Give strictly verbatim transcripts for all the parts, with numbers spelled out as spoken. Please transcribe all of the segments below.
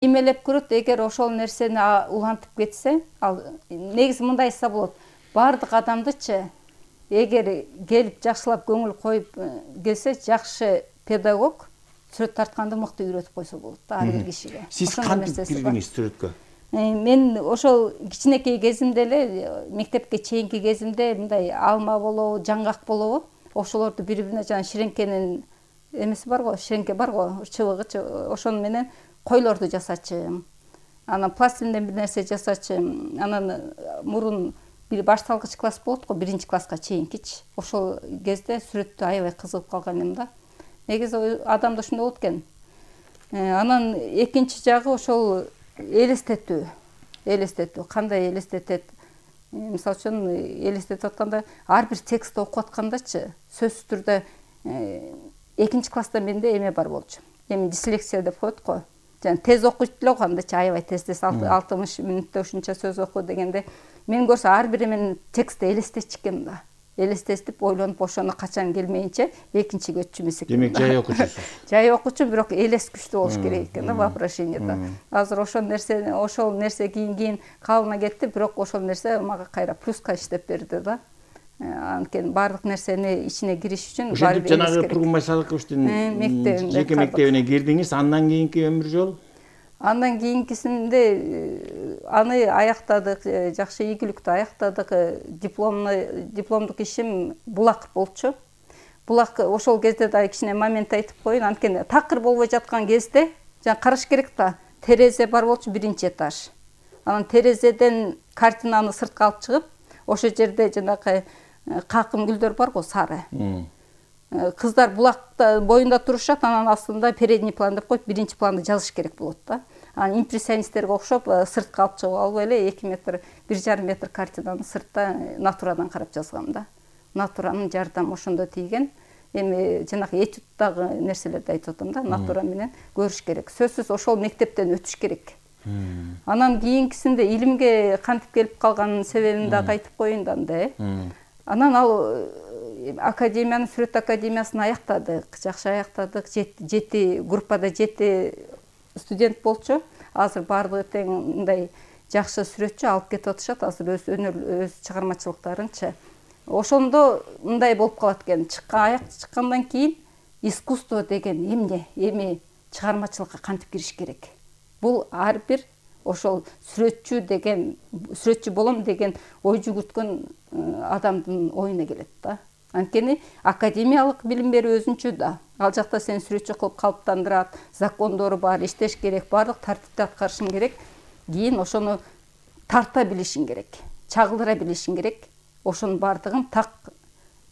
Эмелеп көрөт, эгер ошол нерсени улантып кетсе, ал негизи мындай айтса болот. Бардык адамдычы эгер келип жакшылап көңүл коюп келсе, жакшы педагог сүрөт тартканды мыкты үйрөтүп койсо болот да ар бир кишиге. Сиз кантип кирдиңиз сүрөткө? Мен ошол кичинекей кезимде эле, мектепке чейинки кезимде мындай алма болобу, жаңгак болобу, ошолорду бири-бирине жана ширеңкенин эмеси бар го, ширеңке бар го, чыбыгычы, ошону менен койлорду жасачым. Анан пластилинден бир нерсе жасачым. Анан мурун бир башталгыч класс болот го, биринчи класска чейинкичи. Ошол кезде сүрөттү аябай кызыгып калган элем да. Негизи адамда ушундай болот экен. Анан экинчи жагы ошол элестетүү. Элестетүү, кандай элестетет? Мисалы үчүн элестетип атканда, ар бир текстти окуп аткандачы, сөзсүз түрдө экинчи класста менде эме бар болчу. Эми дислексия деп коет го. Жана тез окуйт эле кандачы, аябай тез-тез алтымыш мүнөттө ушунча сөз оку дегенде, мен көрсө ар бир эменин текстти элестетчү экенмин да. Элестетип, ойлонуп, ошону качан келмейинче экинчиге өтчү эмес экен. Демек жай окуучусуз. Жай окуучу, бирок элес күчтүү болуш керек экен да вопрошениеде. Азыр ошол нерсе, ошол нерсе кийин-кийин калына кетти, бирок ошол нерсе мага кайра плюска иштеп берди да. Анткени бардык нерсени ичине кириш үчүн баары бир жанагы Тургунбай Садыковичтин жеке мектебине кирдиңиз, андан кийинки өмүр жол? Андан кийинкисинде аны аяктадык, жакшы ийгиликтүү аяктадык. Дипломный дипломдук ишим булак болчу. Булак ошол кезде да кичине момент айтып коеюн. Анткени такыр болбой жаткан кезде жана караш керек да. Терезе бар болчу, биринчи этаж. Анан терезеден картинаны сыртка алып чыгып, ошол жерде жанагы какым гүлдөр бар го, сары. Кыздар булакта боюнда турушат, анан астында передний план деп коет, биринчи планды жазыш керек болот да. Анан импрессионисттерге окшоп сыртка алып чыгып алып эле эки метр, бир жарым метр картинаны сыртта натурадан карап жазгам да. Натуранын жардамы ошондо тийген. Эми жанагы этюдтагы нерселерди айтып атам да, натура менен көрүш керек. Сөзсүз ошол мектептен өтүш керек. Анан кийинкисинде илимге кантип келип калганын себебин дагы айтып коеюн да анда. Анан ал академияны, сүрөт академиясын аяктадык, жакшы аяктадык. Жети группада жети студент болчу. Азыр баардыгы тең мындай жакшы сүрөтчү алып кетип атышат, азыр өз өнөр, өз чыгармачылыктарынчы. Ошондо мындай болуп калат экен, чыккан аяк чыккандан кийин искусство деген эмне, эми чыгармачылыкка кантип кириш керек? Бул ар бир ошол сүрөтчү деген, сүрөтчү болом деген ой жүгүрткөн адамдын оюна келет да. Анткени академиялык билим берүү өзүнчө да. Ал жакта сени сүрөтчү кылып калыптандырат, закондору бар, иштеш керек, бардык тартипти аткарышың керек. Кийин ошону тарта билишиң керек, чагылдыра билишиң керек. Ошонун бардыгын так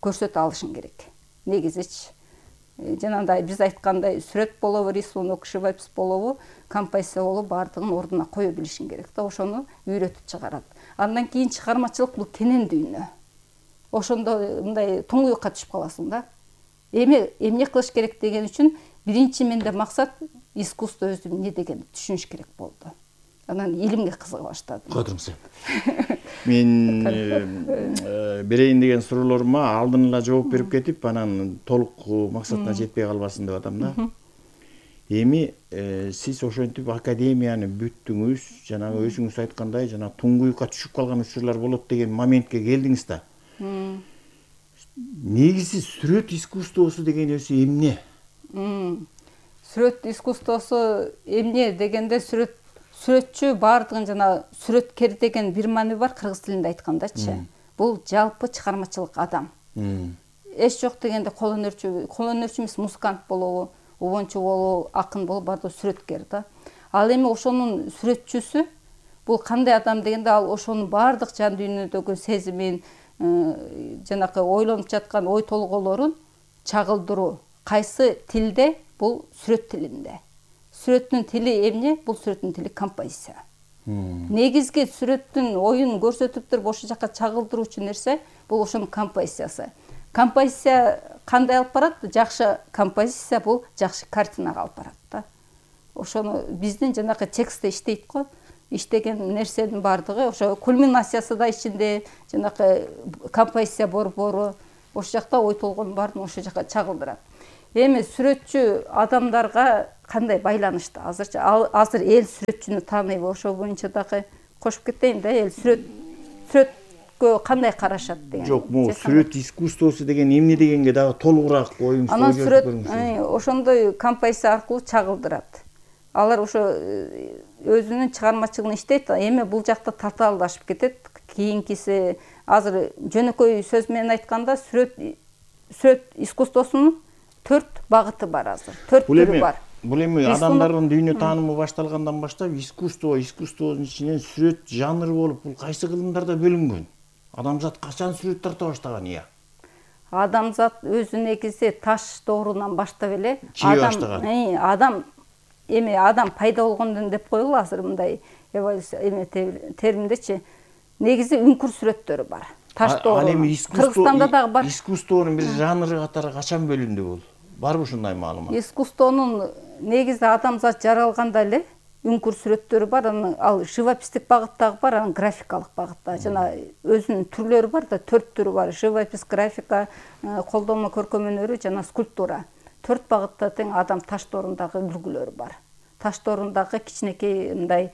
көрсөтө алышың керек. Негизичи. Жанагындай биз айткандай сүрөт болобу, рисунок, живопись болобу, композиция болобу, бардыгын ордуна кое билишиң керек да. Ошону үйрөтүп чыгарат. Андан кийин чыгармачылык бул кенен дүйнө. Ошондо мындай туңгуюкка түшүп каласың да. Эми эмне кылыш керек деген үчүн биринчи менде максат искусство өзү эмне дегенди түшүнүш керек болду. Анан илимге кызыга баштадым. Котуңуз. Мен берейин деген суроолорума алдын ала жооп берип кетип, анан толук максатына жетпей калбасын деп атам да. Эми сиз ошентип академияны бүттүңүз, жанагы өзүңүз айткандай, жана туңгуюкка түшүп калган учурлар болот деген моментке келдиңиз да. Негизи сүрөт искусствосу деген өзү эмне? Сүрөт искусствосу эмне дегенде, сүрөт сүрөтчү бардыгын жана сүрөткер деген бир маани бар кыргыз тилинде айткандачы. Бул жалпы чыгармачылык адам. Эч жок дегенде кол өнөрчү, кол өнөрчү эмес, музыкант болобу, убончу болобу, акын болобу, бардыгы сүрөткер да. Ал эми ошонун сүрөтчүсү бул кандай адам дегенде, ал ошонун бардык жан дүйнөдөгү сезимин, жанакы ойлонуп жаткан ой толгоолорун чагылдыруу. Кайсы тилде? Бул сүрөт тилинде. Сүрөттүн тили эмне? Бул сүрөттүн тили композиция. Негизги сүрөттүн оюн көрсөтүп туруп ошол жака чагылдыруучу нерсе бул ошонун композициясы. Композиция кандай алып барат? Жакшы композиция бул жакшы картинага алып барат да. Ошону биздин жанакы текстте иштейт го. Иштеген нерсенин бардыгы ошо кульминациясы да ичинде, жанакы композиция борбору, ошол жакта ой толгоонун баарын ошол жака чагылдырат. Эми сүрөтчү адамдарга кандай байланышты азырчы азыр эл сүрөтчүнү тааныйбы, ошол боюнча дагы кошуп кетейин да, эл сүрөт сүрөткө кандай карашат деген. Жок, могу сүрөт искусствосу деген эмне дегенге дагы толугураак оюңузду анан сүрөт ошондой композиция аркылуу чагылдырат. Алар ошо өзүнүн чыгармачылыгын иштейт, эми бул жакта татаалдашып кетет. Кийинкиси азыр жөнөкөй сөз менен айтканда сүрөт сүрөт искусствосунун төрт багыты бар азыр. төрт түрү бар. Бул эми адамдардын дүйнө таанымы башталгандан баштап искусство, искусствонун ичинен сүрөт жанры болуп, бул кайсы кылымдарда бөлүнгөн? Адамзат качан сүрөт тарта баштаган ыя? Адамзат өзү негизи таш доорунан баштап эле адам адам эми адам пайда болгондон деп коелу, азыр мындай эволюция эме терминдечи. Негизи үңкүр сүрөттөрү бар. Таш доору. Ал эми Кыргызстанда дагы бар. Искусствонун бир жанры катары качан бөлүндү бул? Барбы ушундай маалымат? Искусствонун негизи адамзат жаралганда эле үңкүр сүрөттөрү бар, анан ал живописдик багыттагы бар, анан графикалык багытта. Жана өзүнүн түрлөрү бар да, төрт түрү бар. Живопис, графика, колдонмо көркөм өнөрү жана скульптура. Төрт багытта тең адам таш доорундагы үлгүлөр бар. Таш доорундагы кичинекей мындай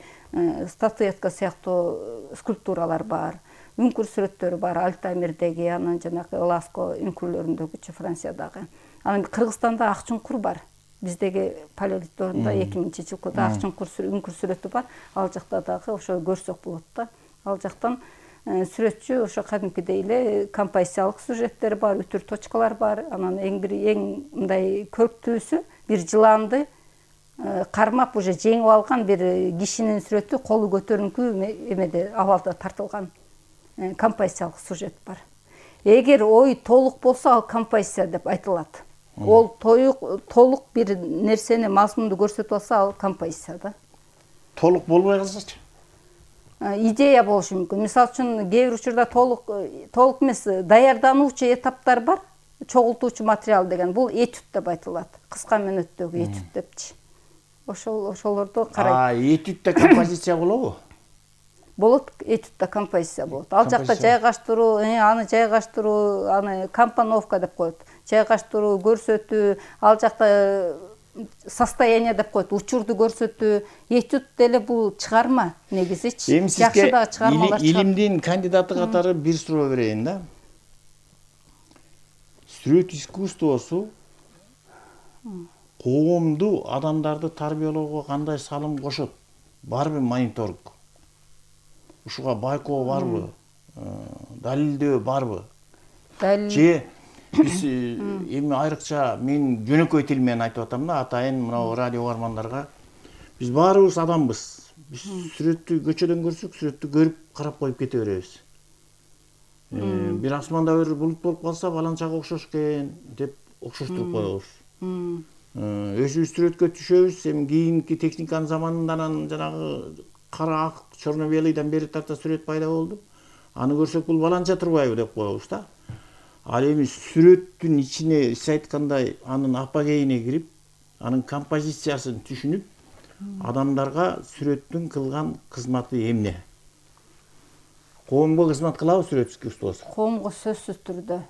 статуэтка сыяктуу скульптуралар бар. Үңкүр сүрөттөрү бар, Альтамирдеги, анан жанагы Ласко үңкүрлөрүндөгүчү Франциядагы. Анан Кыргызстанда Акчуңкур бар. Биздеги палеолит доорунда эки миңинчи жылкыда Акчуңкур үңкүр сүрөтү бар. Ал жакта дагы ошо көрсөк болот да. Ал жактан сүрөтчү ошо кадимкидей эле композициялык сюжеттер бар, үтүр точкалар бар. Анан эң бир эң мындай көрктүүсү бир жыланды кармап уже жеңип алган бир кишинин сүрөтү колу көтөрүңкү эмеде абалда тартылган композициялык сюжет бар. Эгер ой толук болсо, ал композиция деп айтылат. Ол толук бир нерсени, мазмунду көрсөтүп алса, ал композиция да. Толук болбой калсачы? Идея болушу мүмкүн. Мисалы үчүн кээ бир учурда толук толук эмес, даярдануучу этаптар бар. Чогултуучу материал деген бул этюд деп айтылат. Кыска мөөнөттөгү этюд депчи. Ошол ошолорду карайт. А, этюдда композиция болобу? Болот, этюдда композиция болот. Ал жакта жайгаштыруу, аны жайгаштыруу, аны компоновка деп коет. Жайгаштыруу, көрсөтүү, ал жакта состояние деп коет, учурду көрсөтүү. Этюд деле бул чыгарма негизичи. Жакшы дагы чыгармалар чыгат. Илимдин кандидаты катары бир суроо берейин да. Сүрөт искусствосу коомду, адамдарды тарбиялоого кандай салым кошот? Барбы мониторинг? Ушуга байкоо барбы? Далилдөө барбы? Же биз эми айрыкча мен жөнөкөй тил менен айтып атам да, атайын мына радио угармандарга. Биз баарыбыз адамбыз. Биз сүрөттү көчөдөн көрсөк, сүрөттү көрүп карап коюп кете беребиз. Бир асманда бир булут болуп калса, баланчага окшош экен деп окшоштуруп коебуз. Өзүбүз сүрөткө түшөбүз, эми кийинки техниканын заманынан жанагы кара ак черно-белыйдан бери тарта сүрөт пайда болду. Аны көрсөк бул баланча турбайбы деп коебуз да. Ал эми сүрөттүн ичине сиз айткандай анын апогейине кирип, анын композициясын түшүнүп, адамдарга сүрөттүн кылган кызматы эмне? Коомго кызмат кылабы сүрөт искусствосу? Коомго сөзсүз түрдө.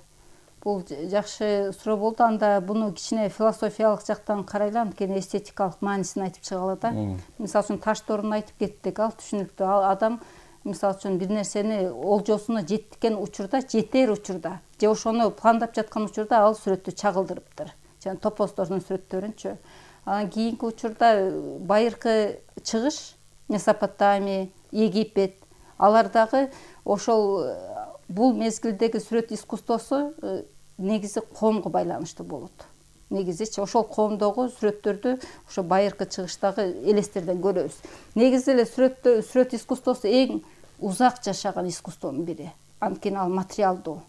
Бул жакшы суроо болду. Анда буну кичине философиялык жактан карайлы, анткени эстетикалык маанисин айтып чыгалы да. Мисалы үчүн таш дооруну айтып кеттик, ал түшүнүктүү. Ал адам мисалы үчүн бир нерсени олжосуна жеткен учурда, жетер учурда, же ошону пландап жаткан учурда ал сүрөттү чагылдырыптыр. Жана топоздордун сүрөттөрүнчү. Анан кийинки учурда байыркы чыгыш, Месопотамия, Египет, алардагы ошол бул мезгилдеги сүрөт искусствосу негизи коомго байланыштуу болот. Негизичи ошол коомдогу сүрөттөрдү ошо байыркы чыгыштагы элестерден көрөбүз. Негизи эле сүрөттө сүрөт искусствосу эң узак жашаган искусствонун бири. Анткени ал материалдуу.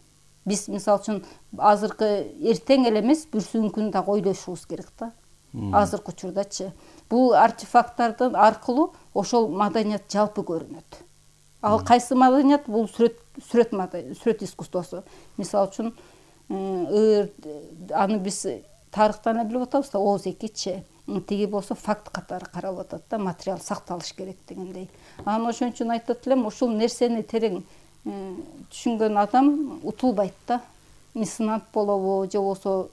Биз мисалы үчүн азыркы эртең эле эмес, бүрсүнкү күнү дагы ойлошубуз керек да. Азыркы учурдачы. Бул артефакттардын аркылуу ошол маданият жалпы көрүнөт. Ал кайсы маданият? Бул сүрөт сүрөт сүрөт искусствосу. Мисалы үчүн ыр аны биз тарыхтан эле билип атабыз да, Оз экичи. Тиги болсо факт катары каралып атат да, материал сакталыш керек дегендей. Анан ошон үчүн айтат элем, ушул нерсени терең түшүнгөн адам утулбайт да. Меценат болобу, же болбосо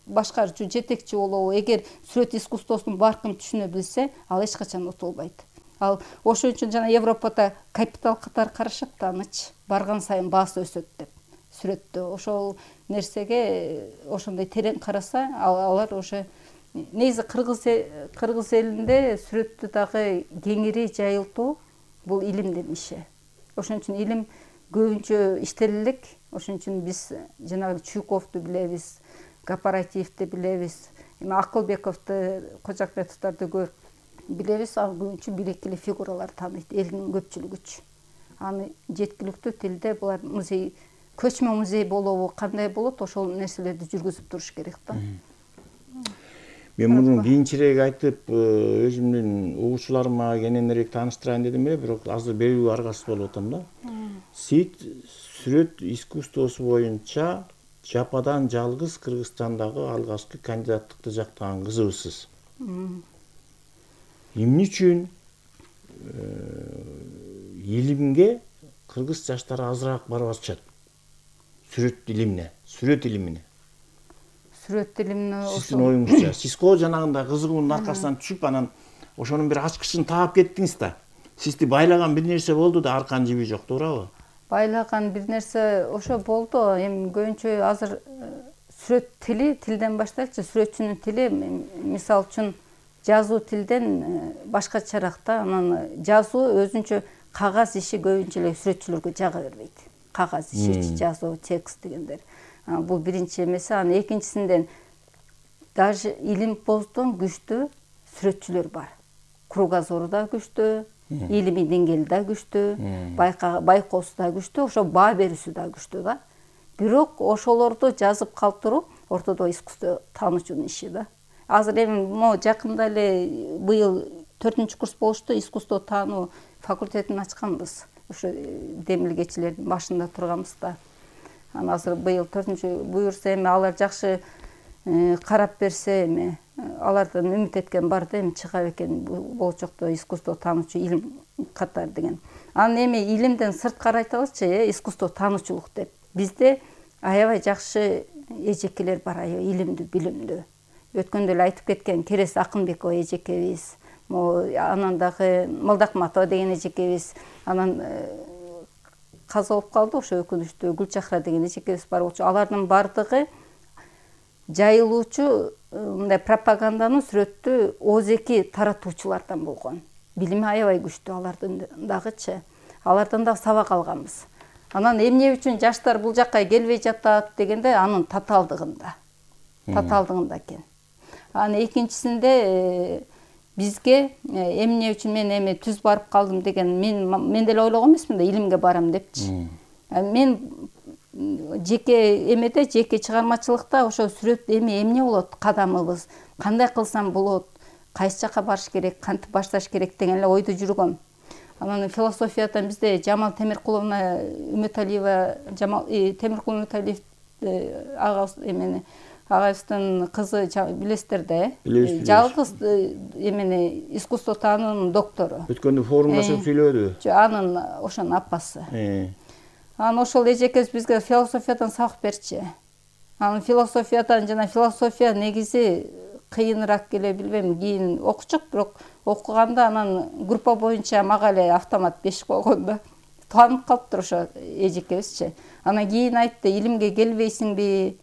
башкарчу, жетекчи болобу, эгер сүрөт искусствосунун баркын түшүнө билсе, ал эч качан утулбайт. Ал ошон үчүн жана Европада капитал катары карашат да аныч, барган сайын баасы өсөт деп сүрөттө. Ошол нерсеге ошондой терең караса, алар ошо негизи кыргыз кыргыз элинде сүрөттү дагы кеңири жайылтуу бул илимдин иши. Ошон үчүн илим көбүнчө иштелелик. Ошон үчүн биз жанагы Чуйковду билебиз, Кооперативди билебиз, эми Акылбековду, Кожокметовдорду көп билебиз. Ал көбүнчө белеккилүү фигуралар тааныйт элдин көпчүлүгүчү. Аны жеткиликтүү тилде булар музей, көчмө музей болобу, кандай болот, ошол нерселерди жүргүзүп туруш керек да. Мен муну кийинчерээк айтып, өзүмдүн угуучуларыма кененирээк тааныштырайын дедим эле, бирок азыр берүү аргасыз болуп атам да. Сит сүрөт искусствосу боюнча жападан жалгыз Кыргызстандагы алгачкы кандидаттыкты жактаган кызыбызсыз. Эмне үчүн илимге кыргыз жаштары азыраак барып атышат? Сүрөт илимине, сүрөт илимине. Сүрөт илимине Сиздин оюңузча, сиз го жанагындай кызыгуунун аркасынан түшүп, анан ошонун бир ачкычын таап кеттиңиз да. Сизди байлаган бир нерсе болду да, арканын жиби жок, туурабы? Байлаган бир нерсе ошо болду. Эми көбүнчө азыр сүрөт тили, тилден баштайлычы, сүрөтчүнүн тили мисалы үчүн жазуу тилден башкачараак да. Анан жазуу өзүнчө кагаз иши көбүнчө эле сүрөтчүлөргө жага бербейт. Кагаз иши, жазуу, текст дегендер. Бул биринчи эмеси. Анан экинчисинен даже илимпоздон күчтүү сүрөтчүлөр бар. Кругозору да күчтүү, илимий деңгээли да күчтүү, байкоосу да күчтүү, ошо баа берүүсү да күчтүү да. Бирок ошолорду жазып калтыруу ортодо искусство таануучунун иши да. Азыр эми могу жакында эле быйыл төртүнчү курс болушту, искусство таануу факультетин ачканбыз. Ошо демилгечилердин башында турганбыз да. Анан азыр быйыл төртүнчү буюрса, эми алар жакшы карап берсе, эми алардан үмүт эткен бар да, эми чыга экен болочокто искусство таануучу илим катары деген. Анан эми илимден сырткары айталычы, искусство таануучулук деп. Бизде аябай жакшы эжекелер бар, аябай илимдүү, билимдүү. Өткөндө эле айтып кеткен Керес Акынбекова эжекебиз, анан дагы Молдокматова деген эжекебиз, анан каза болуп калды ошо өкүнүчтүү Гүлчахра деген эжекебиз бар болчу. Алардын бардыгы жайылуучу мындай пропаганданын сүрөттү оозеки таратуучулардан болгон. Билими аябай күчтүү алардын дагычы. Алардан дагы сабак алганбыз. Анан эмне үчүн жаштар бул жакка келбей жатат дегенде, анын татаалдыгында. Татаалдыгында экен. Анан экинчисинде бизге эмне үчүн мен эми түз барып калдым деген, мен мен деле ойлогон эмесмин да, илимге барам депчи. Мен жеке эмеде, жеке чыгармачылыкта ошо сүрөт эми эмне болот, кадамыбыз кандай кылсам болот, кайсы жака барыш керек, кантип башташ керек деген эле ойдо жүргөм. Анан философиядан бизде Жамал Темиркуловна Үмөталиева, Жамал Темиркул Үмөталиев агабыз эмени агайыбыздын кызы билесиздер да, э? Жалгыз эмени искусство таануунун доктору. Өткөндө форумда сөп сүйлөдү. Анын ошонун апасы. Анан ошол эжекебиз бизге философиядан сабак берчи. Анан философиядан жана философия негизи кыйыныраак эле, билбейм, кийин окучук, бирок окуганда анан группа боюнча мага эле автомат бешик болгон да. Таанып калыптыр ошо эжекебизчи. Анан кийин айтты, илимге келбейсиңби?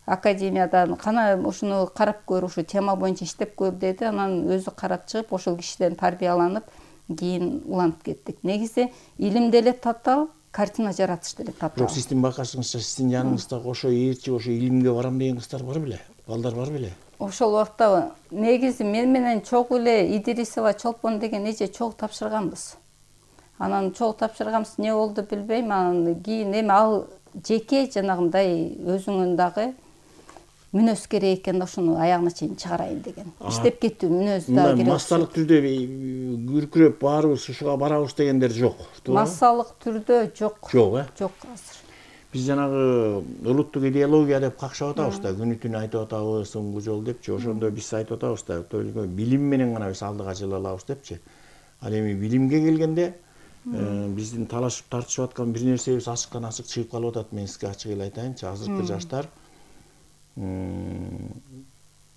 Академиядан кана ушуну карап көр, ушу тема боюнча иштеп көр деди. Анан өзү карап чыгып, ошол кишиден тарбияланып, кийин уланып кеттик. Негизи илим деле татаал, картина жаратыш деле татаал. Бирок сиздин байкашыңызча, сиздин жаныңыздагы ошо ээрчи, ошо илимге барам деген кыздар бар беле? Балдар бар беле? Ошол убакта негизи мен менен чогуу эле Идрисова Чолпон деген эже чогуу тапшырганбыз. Анан чогуу тапшырганбыз, эмне болду билбейм. Анан кийин эми ал жеке жанагындай өзүңүн дагы мүнөз керек экен да, ошону аягына чейин чыгарайын деген. Иштеп кеттүү мүнөз да керек. Массалык түрдө күркүрөп баарыбыз ушуга барабыз дегендер жок. Массалык түрдө жок. Жок, э? Жок азыр. Биз жанагы улуттук идеология деп какшап атабыз да, күнү түнү айтып атабыз, соңку жол депчи. Ошондо биз айтып атабыз да, только билим менен гана биз алдыга жыла алабыз депчи. Ал эми билимге келгенде биздин талашып тартышып аткан бир нерсебиз ачыктан ачык чыгып калып атат. Мен сизге ачык эле айтайынчы, азыркы жаштар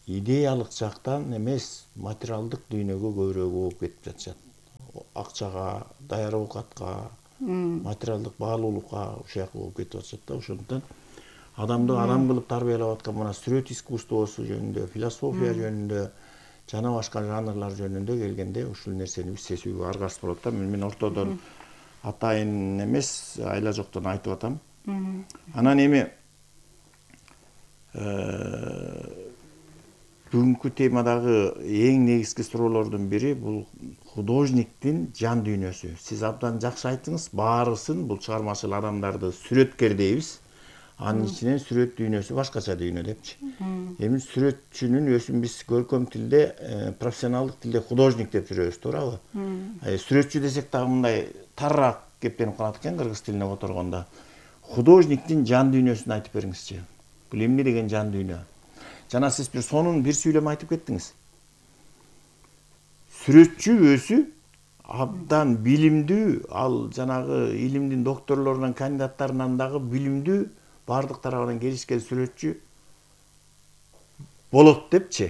идеялык жактан эмес, материалдык дүйнөгө көбүрөөк болуп кетип жатышат. Акчага, даяр оокатка, материалдык баалуулукка ушуяк болуп кетип атышат да. Ошондуктан адамды адам кылып тарбиялап аткан мына сүрөт искусствосу жөнүндө, философия жөнүндө, жана башка жанрлар жөнүндө келгенде ушул нерсени биз сезүүгө аргасыз болот да. Мен ортодон атайын эмес, айла жоктон айтып атам. Анан эми бүгүнкү темадагы эң негизги суроолордун бири бул художниктин жан дүйнөсү. Сиз абдан жакшы айттыңыз, баарысын бул чыгармачыл адамдарды сүрөткер дейбиз. Анын ичинен сүрөт дүйнөсү башкача дүйнө депчи. Эми сүрөтчүнүн өзүн биз көркөм тилде, профессионалдык тилде художник деп жүрөбүз, туурабы? Сүрөтчү десек дагы мындай тарыраак кептенип калат экен кыргыз тилине которгондо. Художниктин жан дүйнөсүн айтып бериңизчи. Бул эмне деген жан дүйнө? Жана сиз бир сонун бир сүйлөм айтып кеттиңиз. Сүрөтчү өзү абдан билимдүү, ал жанагы илимдин докторлорунан, кандидаттарынан дагы билимдүү, бардык тарабынан келишкен сүрөтчү болот депчи.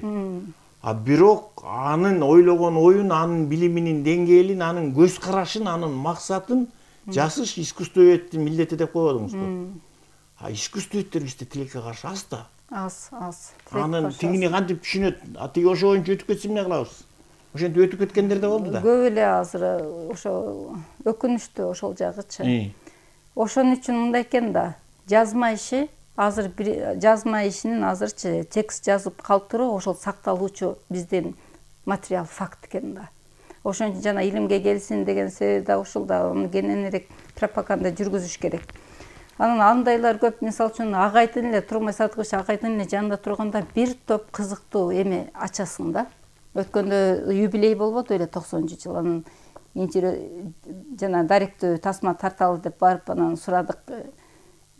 А бирок анын ойлогон оюн, анын билиминин деңгээлин, анын көз карашын, анын максатын жасыш искусствоведтин милдети деп койбодуңузбу? А искусствоведтер бизде тилекке каршы аз да. Аз, аз. Анын тигини кантип түшүнөт? А тиги ошо боюнча өтүп кетсе эмне кылабыз? Ошентип өтүп кеткендер да болду да. Көп эле азыр ошо өкүнүчтүү ошол жагычы. Ошон үчүн мындай экен да, жазма иши азыр жазма ишинин азырчы текст жазып калтыруу ошол сакталуучу биздин материал факт экен да. Ошон үчүн жана илимге келсин деген себеби да ушул да, аны кененирээк пропаганда жүргүзүш керек. Анан андайлар көп, мисалы үчүн Агайдын эле Тургунбай Садыкович Агайдын эле жанында турганда бир топ кызыктуу эме ачасың да. Өткөндө юбилей болбоду эле токсонунчу жыл. Анан жана даректүү тасма тарталы деп барып анан сурадык.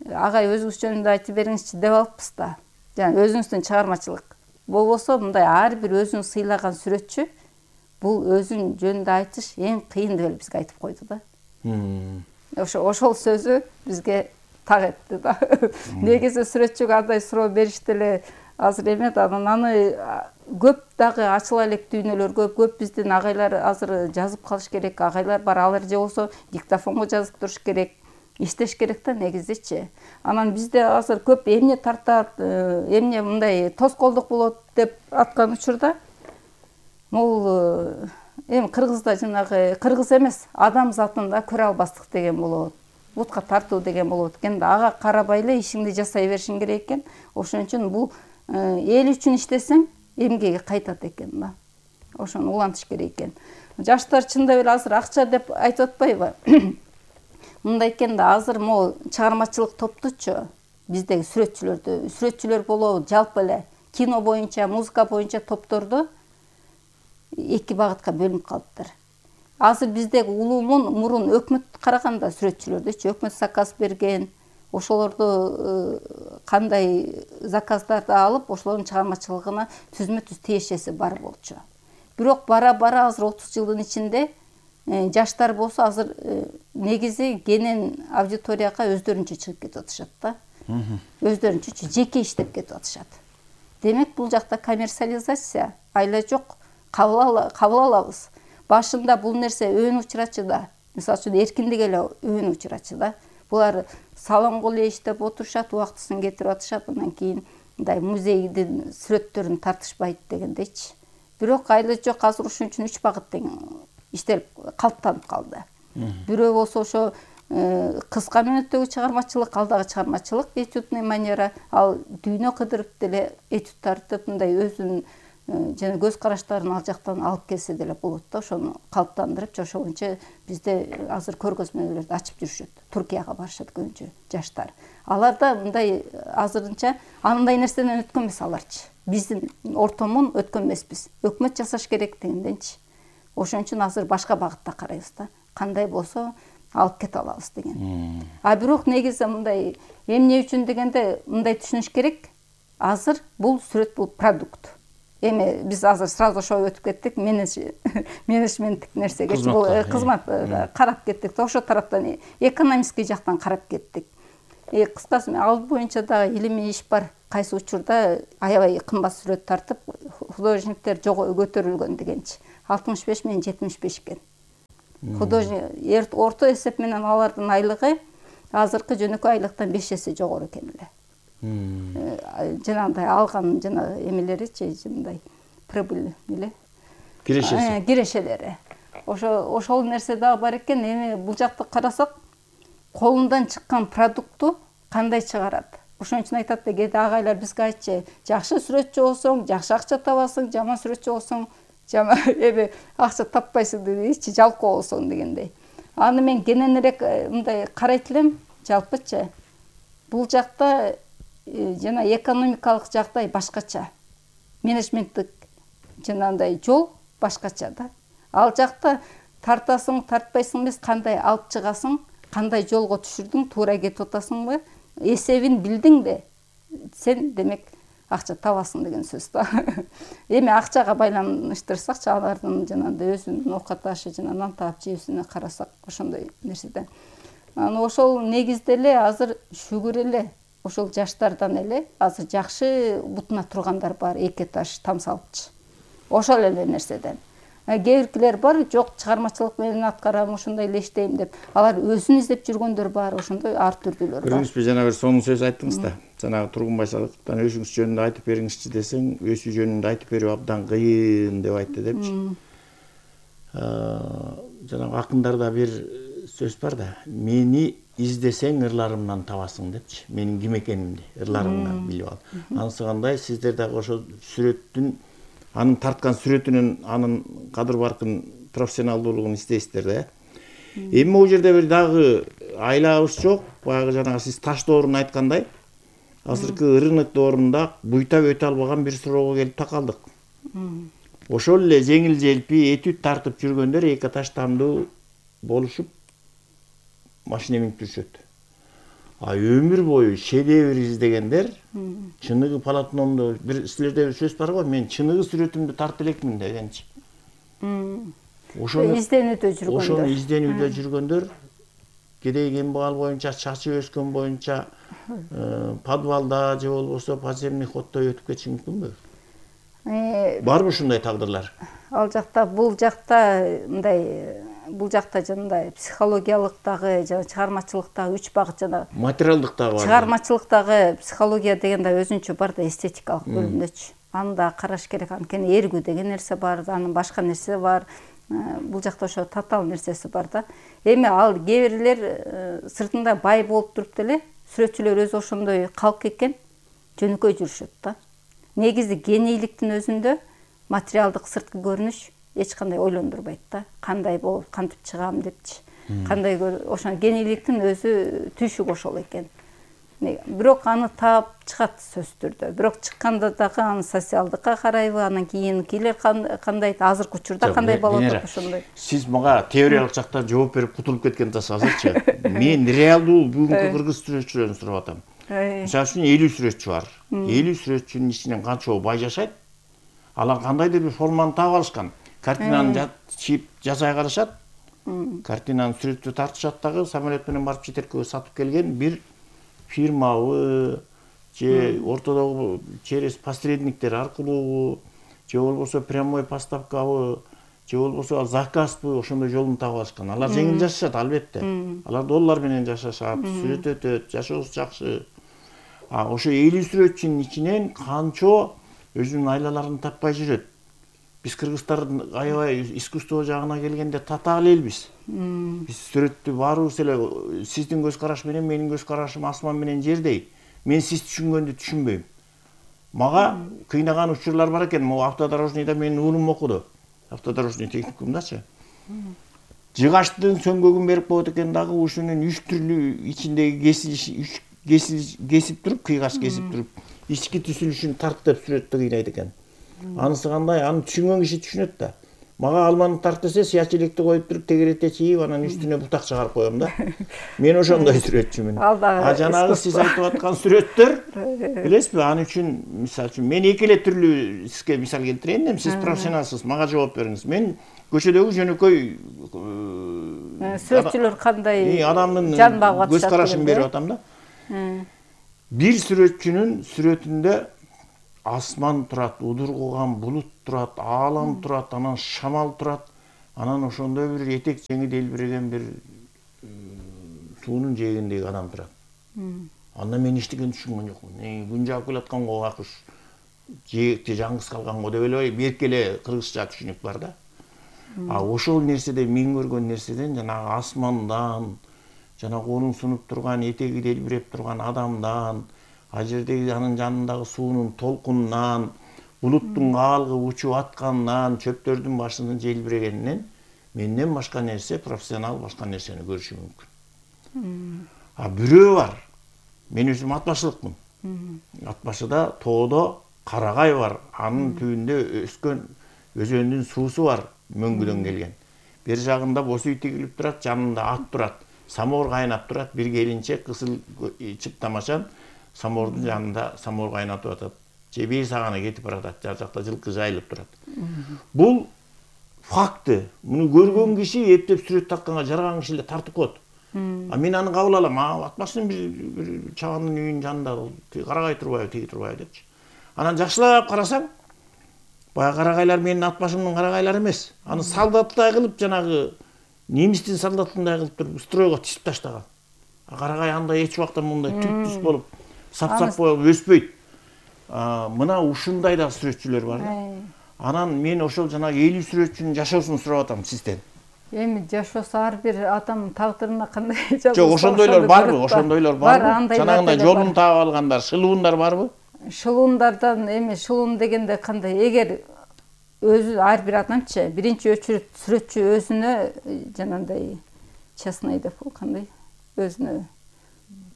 Агай өзүңүз жөнүндө айтып бериңизчи деп алыппыз да. Жана өзүңүздүн чыгармачылык. Болбосо мындай ар бир өзүн сыйлаган сүрөтчү бул өзүн жөнүндө айтыш эң кыйын деп эле бизге айтып койду да. Ошо ошол сөзү бизге так этти да. Негизи сүрөтчүгө андай суроо беришти эле азыр эме да. Анан аны көп дагы ачыла элек дүйнөлөр көп, көп биздин агайлар азыр жазып калыш керек. Агайлар бар, алар же болсо диктофонго жазып туруш керек. Иштеш керек да негизичи. Анан бизде азыр көп эмне тартат, эмне мындай тоскоолдук болот деп аткан учурда могул эми кыргызда жанагы кыргыз эмес, адам затында көрө албастык деген болот. Бутка тартуу деген болот экен да. Ага карабай эле ишиңди жасай беришиң керек экен. Ошон үчүн бул эл үчүн иштесең эмгеги кайтат экен да. Ошону улантыш керек экен. Жаштар чындап эле азыр акча деп айтып атпайбы? Мындай экен да, азыр могу чыгармачылык топтучу биздеги сүрөтчүлөрдү, сүрөтчүлөр болобу, жалпы эле кино боюнча, музыка боюнча топторду эки багытка бөлүнүп калыптыр. Азыр биздеги улуумун мурун өкмөт караганда сүрөтчүлөрдүчү, өкмөт заказ берген, ошолорду кандай заказдарды алып, ошолордун чыгармачылыгына түзмө-түз тиешеси бар болчу. Бирок бара-бара азыр отуз жылдын ичинде жаштар болсо азыр негизи кенен аудиторияга өздөрүнчө чыгып кетип атышат да. Өздөрүнчө жеке иштеп кетип атышат. Демек бул жакта коммерциализация айла жок, кабыл алабыз. Башында бул нерсе өөн учурачы да. Мисалы үчүн эркиндик эле өөн учурачы да. Булар салонго эле иштеп отурушат, убактысын кетирип атышат, андан кийин мындай музейдин сүрөттөрүн тартышпайт дегендейчи. Бирок айла жок, азыр ушун үчүн үч багыт тең иштелип калыптанып калды. Бирөө болсо ошо кыска мөөнөттөгү чыгармачылык, алдагы чыгармачылык, этюдный манера, ал дүйнө кыдырып деле этюд тартып, мындай өзүнүн жана көз караштарын ал жактан алып келсе деле болот да. Ошону калыптандырып, ошо боюнча бизде азыр көргөзмөлөрдү ачып жүрүшөт. Туркияга барышат көбүнчө жаштар. Алар да мындай азырынча андай нерседен өткөн эмес аларчы. Биздин ортомун өткөн эмеспиз. Өкмөт жасаш керек дегенденчи. Ошон үчүн азыр башка багытта карайбыз да. Кандай болсо алып кете алабыз деген. А бирок негизи мындай эмне үчүн дегенде мындай түшүнүш керек. Азыр бул сүрөт, бул продукт. Эми биз азыр сразу ошо өтүп кеттик, менеджменттик нерсеге, бул кызмат карап кеттик. Ошо тараптан экономистский жактан карап кеттик. Кыскасы ал боюнча да илимий иш бар. кайсы учурда аябай кымбат сүрөт тартып художниктер жого көтөрүлгөн дегенчи. алтымыш беш менен жетимиш беш экен. Художник орто эсеп менен алардын айлыгы азыркы жөнөкөй айлыктан беш эсе жогору экен эле. Жанагындай алган жана эмелеричи мындай прибыль эле. Кирешеси. Кирешелери. Ошо ошол нерсе дагы бар экен. Эми бул жакты карасак, колундан чыккан продукту кандай чыгарат? Ошон үчүн айтат да, кээде агайлар бизге айтчы, жакшы сүрөтчү болсоң, жакшы акча табасың, жаман сүрөтчү болсоң, жаман эми акча таппайсың дейчи, жалкоо болсоң дегендей. Аны мен кененирээк мындай карайт элем, жалпычы. Бул жакта жана экономикалык жагдай башкача. Менеджменттик жанагындай жол башкача да. Ал жакта тартасың, тартпайсың эмес, кандай алып чыгасың, кандай жолго түшүрдүң, туура кетип атасыңбы, эсебин билдиң де, сен демек акча табасың деген сөз да. Эми акчага байланыштырсакчы, алардын жанагындай өзүнүн оокат ашы, жана нан таап жеүүсүнө карасак, ошондой нерседе. Аны ошол негизде эле азыр шүгүр эле ошол жаштардан эле азыр жакшы бутуна тургандар бар, эки этаж там салыпчы. Ошол эле нерседен. Кээ биркилер бар, жок чыгармачылык менен аткарам, ошондой эле иштейм деп. Алар өзүн издеп жүргөндөр бар, ошондой ар түрдүүлөр бар. Көрүңүзбү, жана бир сонун сөз айттыңыз да. Жанагы Тургунбай Садыковдон өзүңүз жөнүндө айтып бериңизчи десең, өсүү жөнүндө айтып берүү абдан кыйын деп айтты депчи. Жанагы акындарда бир сөз бар да, мени издесең ырларымдан табасың депчи. Менин ким экенимди ырларымдан билип ал. Анысы кандай, сиздер дагы ошол сүрөттүн, анын тарткан сүрөтүнүн анын кадыр баркын, профессионалдуулугун издейсиздер да. Эми могу жерде бир дагы айлабыз жок, баягы жанагы сиз таш доорун айткандай, азыркы рынок доорунда буйтап өтө албаган бир суроого келип такалдык. Ошол эле жеңил желпи этүт тартып жүргөндөр эки этаж тамдуу болушуп машина минип жүрүшөт. А өмүр бою шедевр издегендер, чыныгы полотномдо бир силерде бир сөз бар го, мен чыныгы сүрөтүмдү тартып элекмин дегенчи. Ошону изденүүдө жүргөндөр. Ошону изденүүдө жүргөндөр, кедей кембагал боюнча, чачып өскөн боюнча, подвалда же болбосо подземный ходдо өтүп кетиши мүмкүнбү? Барбы ушундай тагдырлар? Ал жакта, бул жакта мындай бул жакта жанагындай психологиялыктагы, жана чыгармачылыктагы үч багыт жана материалдыктагы бар. Чыгармачылыктагы психология деген да өзүнчө бар да, эстетикалык бөлүмдөчү. Аны да караш керек. Анткени эргүү деген нерсе бар, анын башка нерсе бар. Бул жакта ошо татаал нерсеси бар да. Эми ал кээ бирлер сыртында бай болуп туруп деле, сүрөтчүлөр өзү ошондой калк экен, жөнөкөй жүрүшөт да. Негизи генийликтин өзүндө материалдык сырткы көрүнүш эч кандай ойлондурбайт да. Кандай болуп, кантип чыгам депчи. Кандай ошо генийликтин өзү түйшүгү ошол экен. Бирок аны таап чыгат сөзсүз түрдө. Бирок чыкканда дагы аны социалдыкка карайбы, анан кийинкилер кандай, азыркы учурда кандай болот деп ошондой. Сиз мага теориялык жактан жооп берип кутулуп кеткен атасыз азырчы. Мен реалдуу бүгүнкү кыргыз сүрөтчүлөрүн сурап атам. Мисалы үчүн элүү сүрөтчү бар. элүү сүрөтчүнүн ичинен канчоо бай жашайт? Алар кандайдыр бир форманы таап алышкан. Картинаны чийип жасай калышат. Картинаны сүрөттү тартышат дагы, самолет менен барып четеркке сатып келген бир фирмабы же ортодогу через посредниктер аркылуу же болбосо прямой поставкабы же болбосо заказбы, ошондой жолун таап алышкан. Алар жеңил жашашат албетте. Алар доллар менен жашашат, сүрөт өтөт, жашоосу жакшы. А ошо элүү сүрөтчүнүн ичинен канчо өзүнүн айлаларын таппай жүрөт. Биз кыргыздар аябай искусство жагына келгенде татаал элбиз. Биз сүрөттү баарыбыз эле сиздин көз караш менен менин көз карашым асман менен жердей. Мен сиз түшүнгөндү түшүнбөйм. Мага кыйнаган учурлар бар экен. Могу автодорожныйда менин уулум окуду. Автодорожный техникумдачы. Жыгачтын сөңгөгүн берип коет экен дагы, ушунун үч түрлүү ичиндеги кесилиш, кесип туруп, кыйгач кесип туруп, ички түзүлүшүн тарт деп сүрөттү кыйнайт экен. Анысы кандай, аны түшүнгөн киши түшүнөт да. Мага алманы тарт десе, сыяч электи коюп туруп, тегерете чийип, анан үстүнө бутак чыгарып коем да. Мен ошондой сүрөтчүмүн. А жанагы сиз айтып аткан сүрөттөр, билесизби, аны үчүн, мисалы үчүн, мен эки эле түрлүү сизге мисал келтирейин дем, сиз профессионалсыз, мага жооп бериңиз. Мен көчөдөгү жөнөкөй сүрөтчүлөр кандай адамдын жан багып атышат, көз карашын берип атам да. бир сүрөтчүнүн сүрөтүндө асман турат, удургуган булут турат, аалам турат, анан шамал турат, анан ошондой бир этек жеңи делбиреген бир суунун жээгиндеги адам турат. Анда мен эчтекени түшүнгөн жокмун. Күн жаап келатканго акыш жээкте жаңгыз калганго деп эле берки эле кыргызча түшүнүк бар да. А ошол нерседен мен көргөн нерседен жанагы асмандан, жанагы онун сунуп турган, этеги делбиреп турган адамдан, а жердеги анын жанындагы суунун толкунунан, булуттун каалгып учуп атканынан, чөптөрдүн башынын желбирегенинен менден башка нерсе, профессионал башка нерсени көрүшү мүмкүн. А бирөө бар. Мен өзүм ат башылыкмын. Ат башыда тоодо карагай бар. Анын түбүндө өскөн өзөндүн суусу бар, мөңгүдөн келген. Бер жагында боз үй тигилип турат, жанында ат турат. Самоор кайнап турат, бир келинчек кысыл чыптамачан самоордун жанында самоор кайнатып атат. Же бир сагана кетип баратат, жар жакта жылкы жайылып турат. Бул факты. Муну көргөн киши эптеп сүрөт тартканга жараган киши эле тартып коет. А мен аны кабыл алам. А ат башынын бир чабандын үйүнүн жанында карагай турбайбы, тиги турбайбы депчи. Анан жакшылап карасаң, баягы карагайлар менин ат башымдын карагайлары эмес. Аны солдаттай кылып, жанагы немистин солдатындай кылып туруп стройго тизип таштаган. А карагай андай эч убакта мындай түп-түз болуп, сап-сап болуп өспөйт. Мына ушундай да сүрөтчүлөр бар. Анан мен ошол жанагы элүү сүрөтчүнүн жашоосун сурап атам сизден. Эми жашоосу ар бир адам тагдырына кандай жагат. Жок, ошондойлор барбы? Ошондойлор барбы? Жанагындай жолун таап алгандар, шылуундар барбы? Шылуундардан эми шылуун дегенде кандай, эгер өзү ар бир адамчы биринчи өчүрүп сүрөтчү өзүнө жанагындай честный деп кандай өзүнө